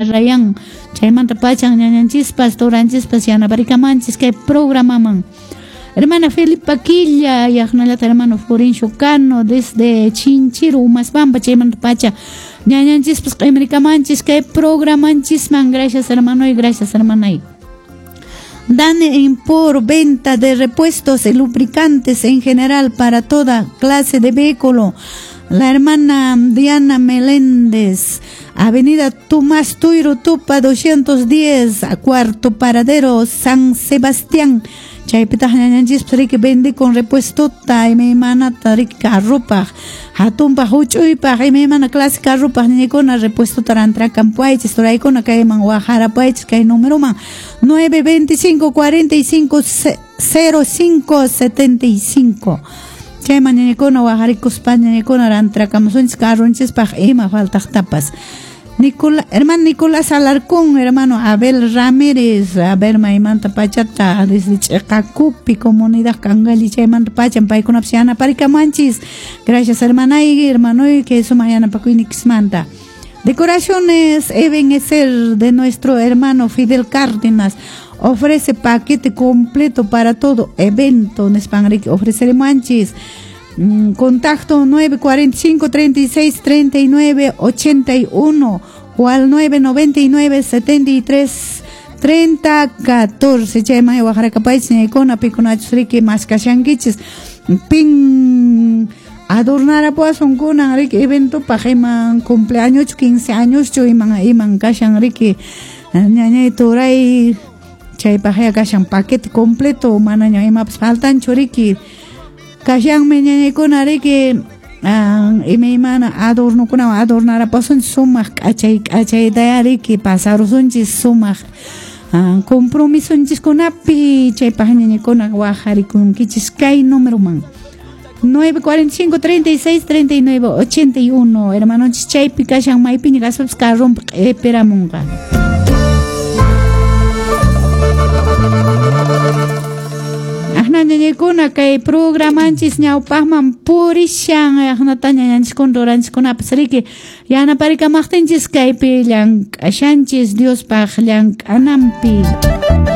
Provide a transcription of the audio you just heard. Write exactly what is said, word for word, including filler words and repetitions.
Rayan chaymanta pachan ñañanchispas turanchispas yanaparikamanchis kay programaman. Hermana Felipa Quilla, yaqnallata hermano Florencio Cano desde Chinchiru, Umaspampa, chaymanta pacha ñañanchispas q'imirikamanchis kay programanchisman. Gracias, hermano, y gracias, hermana. Dane por venta de repuestos y lubricantes en general para toda clase de vehículo. La hermana Diana Meléndez, Avenida Tomás Tuiro Tupa doscientos diez, a cuarto paradero, San Sebastián. Chaypitaq ñañanchispas riki vende con repuestota imaymanata riki carrupaq, hatunpaq, huch'uypaq, imaymana clase carrupaq ñañaykuna repuestota rantrakampuaychis, turaykuna kayman waqarapuaychis kay numeroman nueve veinticinco cuarenta y cinco cero cinco setenta y cinco. Chayman ñañaykuna waqarikuspa ñañaykuna rantrakamusunchis carrunchispaq ima faltaqtapas. Nicola, hermano Nicolás Alarcón, hermano Abel Ramírez, a ver, maymanta pachata, desde Ch'acacupi, comunidad Cangali, chaymanta pachan, paykunapas yanaparikamanchis. Gracias, hermana y hermano, que sumaq yanapakuynikismanta. Decoraciones Ebenezer de nuestro hermano Fidel Cárdenas ofrece paquete completo para todo evento, nispan riki ofreceremanchis. Contacto nueve cuarenta y cinco treinta y seis treinta y nueve ochenta y uno o al nueve noventa y nueve setenta y tres treinta catorce. Chayman waqrakapaychis ñaykuna pikunachus riki maskashankichis pin adornarapuwasunkuna riki eventopaq iman cumpleañoschu quince añoschu iman iman kashan riki ñañay turay chaypaqya kashan paquete completo manaña imapas faltanchu riki kashanmi ñañaykuna riki imaymana adornokunawan adornarapuwasunchis sumaq k'achay k'achaytaya riki pasarusunchis sumaq compromisonchiskunapi chaypaq ñañaykuna waqarikunkichis kay numeroman nueve cuarenta y cinco treinta y seis treinta y nueve ochenta y uno. Hermanonchis chaypi kashan maypiña kaspapas carrompi q'ipiramunqa. Ñañaykuna kay programanchis ñawpaqman purishan aqnata ñañanchiskuna ruranchiskunapas riki yanaparikamaqtinchis kaypi llank'ashanchis Diospaq llank'ananpi.